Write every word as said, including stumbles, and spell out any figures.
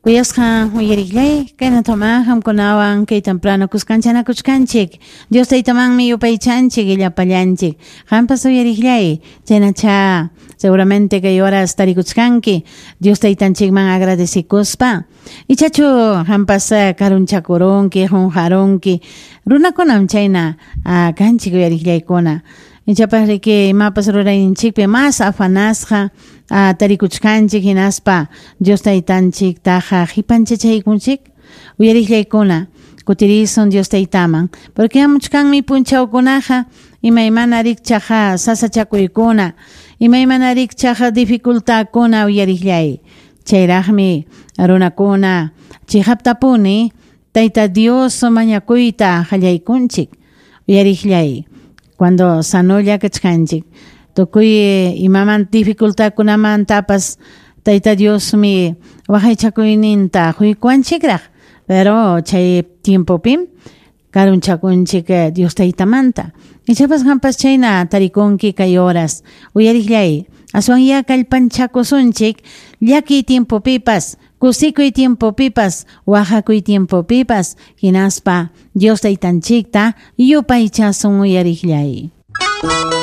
Kuyasqa uyariqllay, kayna qamkunawan kay temprano kuskanchanakuchkanchik. Dios taytamanmi yupaychanchik llapallanchik. Qampas uyariqllay, chaynacha seguramente kay horas tarikuchkanki Dios taytanchikman agradecikuspa. Ichachu qampas karunchakurunki, qunqarunki. Runakunam chayna kanchik uyariqllaykuna. Ichapas riki imapas rurayninchikpi mas afanasqa tarikuchkanchik hinaspa Dios taytanchiktaqa qipanchachaykunchik. Uyariqllaykuna kutirisun Dios taytaman, porque hamuchkanmi punchawkunaqa imaymana rikchaqa sasachakuykuna, imaymana rikchaqa dificultadkuna uyariqllay. Chayraqmi runakuna chiqaptapuni Tayta Dios mañakuyta qallaykunchik. Uyariqllay. Cuando sanolla kachkanchik, tukuy imaman dificultadkunamantapas Tayta Diosmi waqaychakuyninta quykuwanchikraq, pero chay tiempopim karunchakunchik Dios taytamanta. Ichapas qampas chayna tarikunki kay horas. Uyariqllay, aswan ya kallpanchakusunchik llakiy tiempopipas, kusikuy tiempopipas, waqakuy tiempopipas, hinaspa Dios taytanchikta yupaychasun uyariqllay.